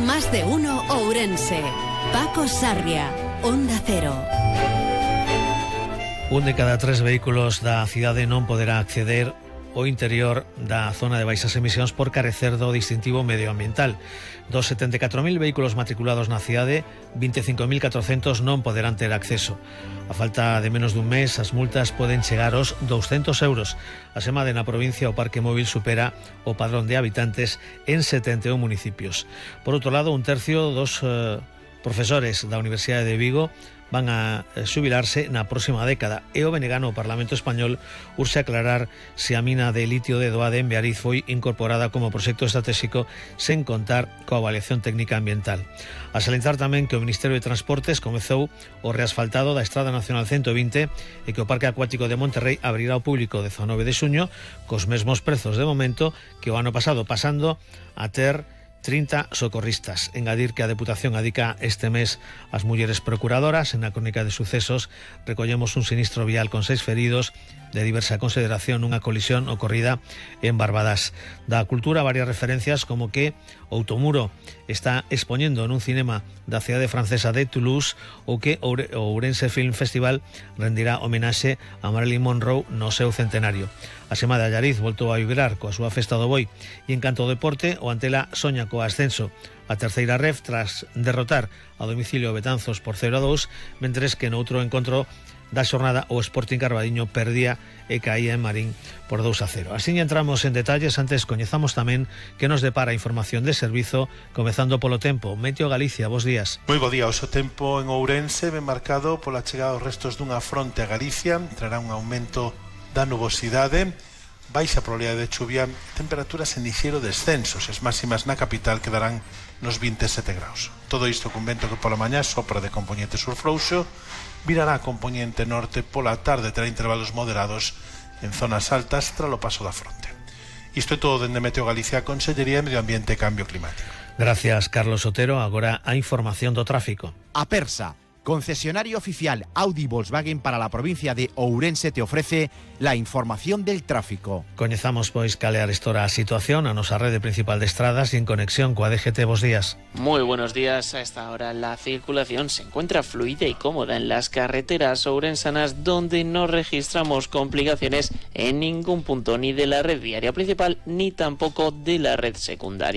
Más de uno Ourense. Paco Sarria, Onda Cero. Un de cada 3 vehículos da cidade non poderá acceder ao interior da zona de baixas emisións por carecer do distintivo medioambiental. Dos 74.000 vehículos matriculados na cidade, 25.400 non poderán ter acceso. A falta de menos dun mes, as multas poden chegar aos 200 euros. A semade na provincia o parque móvil supera o padrón de habitantes en 71 municipios. Por outro lado, un tercio dos profesores da Universidade de Vigo van a xubilarse na próxima década e o Benegano, o Parlamento Español, urxe aclarar se a mina de litio de Doade en Beariz foi incorporada como proxecto estratégico sen contar coa avaliación técnica ambiental. A salientar tamén que o Ministerio de Transportes comezou o reasfaltado da Estrada Nacional 120 e que o Parque Acuático de Monterrey abrirá ao público 19 de xuño cos mesmos prezos de momento que o ano pasado, pasando a ter 30 socorristas. Engadir que a Deputación adica este mes ás mulleres procuradoras. En a crónica de sucesos recollemos un sinistro vial con 6 feridos de diversa consideración nunha colisión ocorrida en Barbadas. Da cultura, varias referencias como que Outomuro está expoñendo nun cinema da cidade francesa de Toulouse ou que o Ourense Film Festival rendirá homenaxe a Marilyn Monroe no seu centenario. A Sema de Allariz voltou a vibrar coa súa festa do boi e en canto ao deporte, o Antela soña co ascenso a terceira ref tras derrotar a domicilio Betanzos por 0-2, mentres que no outro encontro da xornada o Sporting Carbadiño perdía e caía en Marín por 2-0. Así entramos en detalles, antes coñezamos tamén que nos depara información de servizo, comezando polo tempo. Meteo Galicia, bos días. Moi bo día, o seu tempo en Ourense ben marcado pola chegada dos restos dunha fronte a Galicia, trará un aumento da nubosidade, baixa probabilidade de chuvia, temperaturas en ligeiro descenso, as máximas na capital quedarán nos 27 graus. Todo isto cun vento que pola mañá sopra de componente sur frouxo, virará a componente norte pola tarde, terá intervalos moderados en zonas altas tras o paso da fronte. Isto é todo dende Meteo Galicia, Consellería de Medio Ambiente e Cambio Climático. Gracias, Carlos Otero. Agora a información do tráfico. Apersa, concesionario oficial Audi Volkswagen para la provincia de Ourense, te ofrece la información del tráfico. Coñezamos pois cal é a situación a nosa rede principal de estradas y en conexión coa DGT. Bos días. Muy buenos días. A esta hora la circulación se encuentra fluida y cómoda en las carreteras ourensanas, donde no registramos complicaciones en ningún punto, ni de la red viaria principal ni tampoco de la red secundaria.